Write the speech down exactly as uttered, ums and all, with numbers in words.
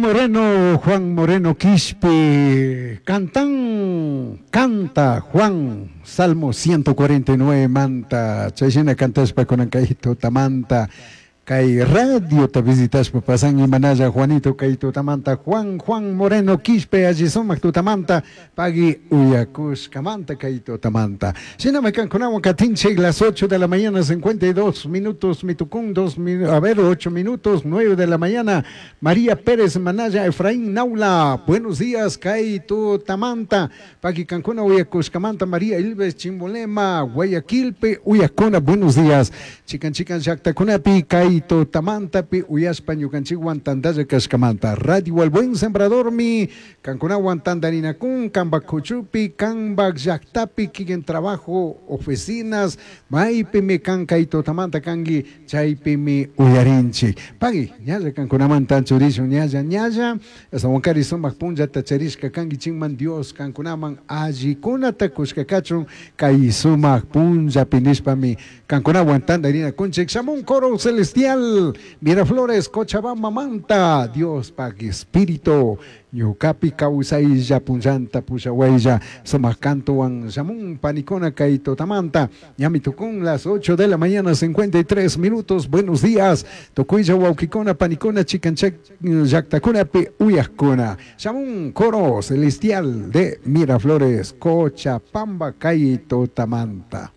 Moreno, Juan Moreno Quispe, cantan, canta Juan, Salmo ciento cuarenta y nueve manta, chayshina cantashpa kunan kay tutamanta, kay radiota visitashpa pasan imanalla Juanito kay tutamanta, Juan, Juan Moreno Quispe, alli sumak tutamanta, pagui uyakushkamanta kay tutamanta. Shinami kankunawan katinchik las ocho de la mañana, cincuenta y dos minutos, mitukun, dos minu-, a ver, ocho minutos, nueve de la mañana, María Pérez Manaya, Efraín Naula, buenos días, kay tutamanta, pagui kankuna uyakushkamanta, María Ilves Chimbolema, Guayaquilpe, uyakuna, buenos días, chikan chikan llaktakunapi, kay tutamantapi uyashpa ñukanchikwan tantalla kashkamanta. Radio El Buen Sembrador mi kankunawan tandarinakun, kanpak kuchupi, kanpak llaktapi, kikin trabajo, oficinas, maypimi kan kay tutamanta kanki, chaypimi uyarinchik. Pagui, ñalla kankunamanta anchurishun, ñalla, ñalla, astawankari sumak punllata charishka kanki chinman Dios kankunaman allikunata kushka kachun, kay sumak punllapi nishpami kankunawan tandarinakunchik. Shamun coro celestial, Miraflores, Cochabamba, Manta, Dios pag espíritu, ñukapi kawsaylla punllanta pushawaylla, sumak kantuwan shamun panikuna kay tutamanta, ñami tukun las ocho de la mañana, cincuenta y tres minutos, buenos días, tukuylla wawkikuna, panikuna, chikanchak llaktakunapi uyakuna, shamun coro celestial de Miraflores, Cochabamba, kay tutamanta.